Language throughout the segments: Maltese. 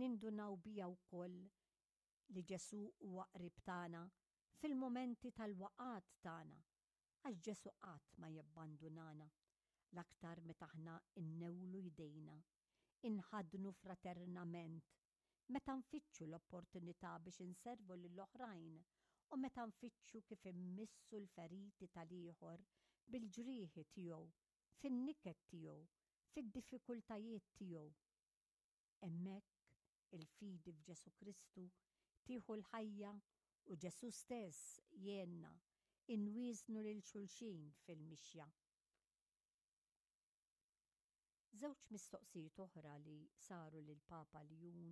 Nindunaw biha wkoll li Ġesù huwa qrib tagħna fil-mumenti tal-waqgħat tagħna, għax Ġesù qatt ma jabbandunana, l-aktar meta aħna nnewlu jdejna, inħaddnu fraternament, meta nfittxu l-opportunità biex inservu lill-oħrajn u meta nfittxu kif immissu l-feriti tal-ieħor bil-ġrieħi tiegħu, fin-niket tiegħu, fid-diffikultajiet tiegħu. Hemmhekk il-fidi f'Ġesù Kristu tieħu l-ħajja u Ġesù stess jgħinna inwieżnu lil xulxin fil-mixja. Żewġ mistoqsijiet oħra li saru lill-Papa Ljun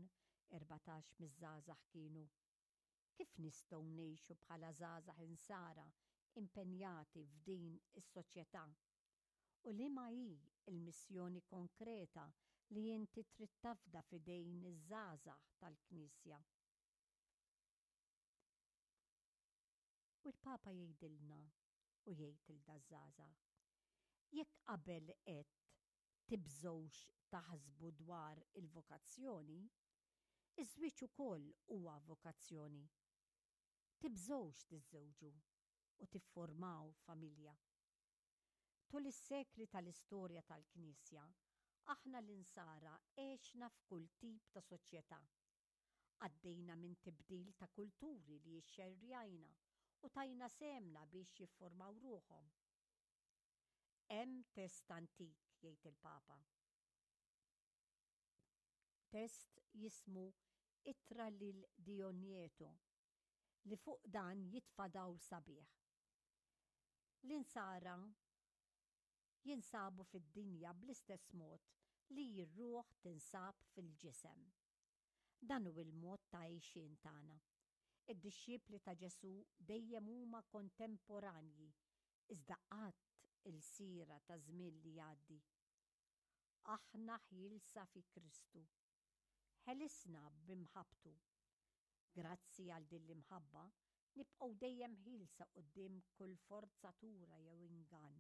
14 miż-żgħażagħ kienu, Kif nistgħu ngħixu bħala żgħażagħ Insara impenjati f'din is-soċjetà? U liema hi l-missjoni konkreta li inti trid tafda f'idejn iż-żgħażagħ tal-Knisja? U l-Papa jgħidilna u jgħid 'il daż-żgħażagħ, Jekk qabel għedt tibżgħux taħsbu dwar il-vokazzjoni, iż-żwieġ ukoll huwa vokazzjoni. Tibżgħux tiżżewġu u tifformaw familja. Tul is-sekli tal-istorja tal-Knisja, aħna l-Insara għexna f'kull tip ta' soċjetà. Għaddejna minn tibdil ta' kulturi li xxerrjajna u tajna sehemna biex jifformaw ruħhom. Hemm test antik, jgħid il-Papa. Test jismu Ittra lil Dionieto li fuq dan jitfa' dawl sabiħ. L-Insara jinsabu fid-dinja bl-istess mod li r-ruħ tinsab fil-ġisem. Dan hu l-mod ta' għixien tagħna. Id-dixxipli ta' Ġesù dejjem huma kontemporanji, iżda qatt ilsiera ta' żmien li jgħaddi. Aħna ħielsa fi Kristu. Ħelisna b'imħabbtu. Grazzi għal din l-imħabba, nibqgħu dejjem ħielsa quddiem kull forzatura jew ingann.